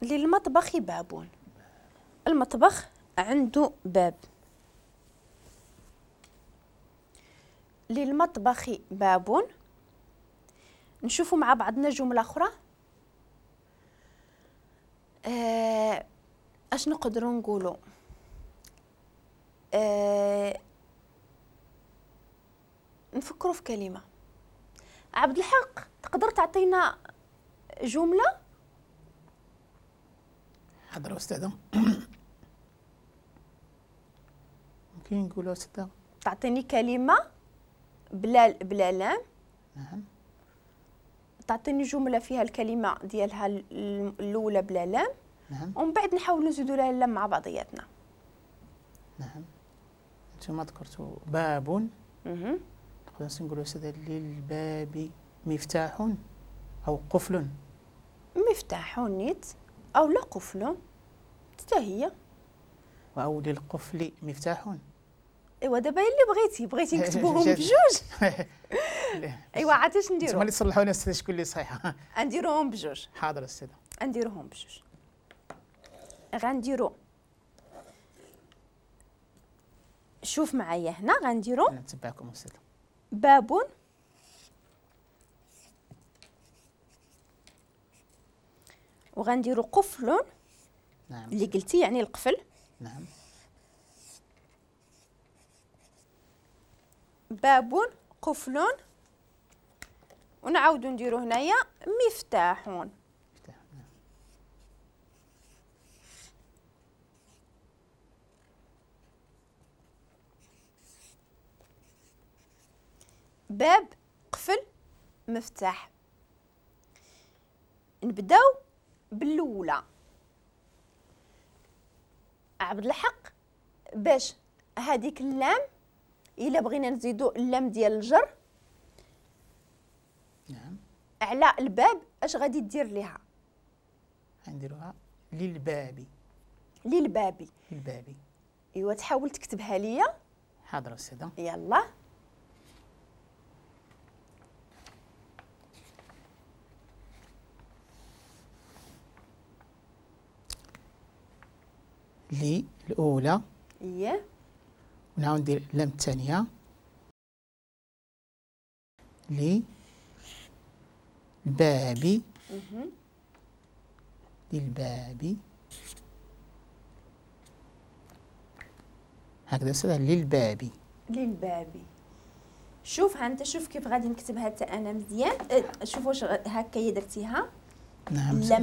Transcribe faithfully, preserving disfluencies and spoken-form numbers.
للمطبخ باب. المطبخ عنده باب. للمطبخ باب. نشوفوا مع بعضنا جملة أخرى. آه، اش نقدروا نقولوا؟ آه، نفكروا في كلمة. عبد الحق تقدر تعطينا جملة؟ حاضر أستاذة. ممكن نقولوا أستاذة تعطيني كلمة بلا بلا لام. نعم. تعطيني جملة فيها الكلمة ديالها الأولى بلا لام. نعم. ومن بعد نحاولوا نزيدوا لها اللام مع بعضياتنا. نعم. انتم ذكرتوا باب. نقدر نقولوا أستاذة للباب مفتاح أو قفل. مفتاح نيت أو لا قفل حتى هي. أو للقفل مفتاح. ايوا دابا اللي بغيتي بغيتي نكتبوهم بجوج. ايوا عاد اش نديرو؟ انتما اللي تصلحوا لنا استاذ شكون اللي صحيحه. نديروهم بجوج. حاضر استاذه. نديروهم بجوج. غنديرو شوف معايا هنا غنديرو. انا نتبعكم استاذه. باب وغنديرو قفل. نعم. اللي قلتي يعني القفل. نعم. باب قفل ونعاودو نديرو هنايا مفتاح. مفتاح. نعم. باب قفل مفتاح. نبداو بالاولى. عبد الحق باش هذيك اللام الا بغينا نزيدو اللام ديال الجر. نعم. على الباب اش غادي دير ليها؟ غنديروها للباب. للباب. للباب. ايوا تحاول تكتبها ليا. حاضر استاذه. يلا. لي الاولى. اييه. ونعاود ندير اللام الثانية. لي الباب. للباب. هكذا أستاذ للباب. للباب. شوف ها انت شوف كيف غادي نكتبها حتى انا مزيان. شوف واش هكا درتيها. نعم. اللام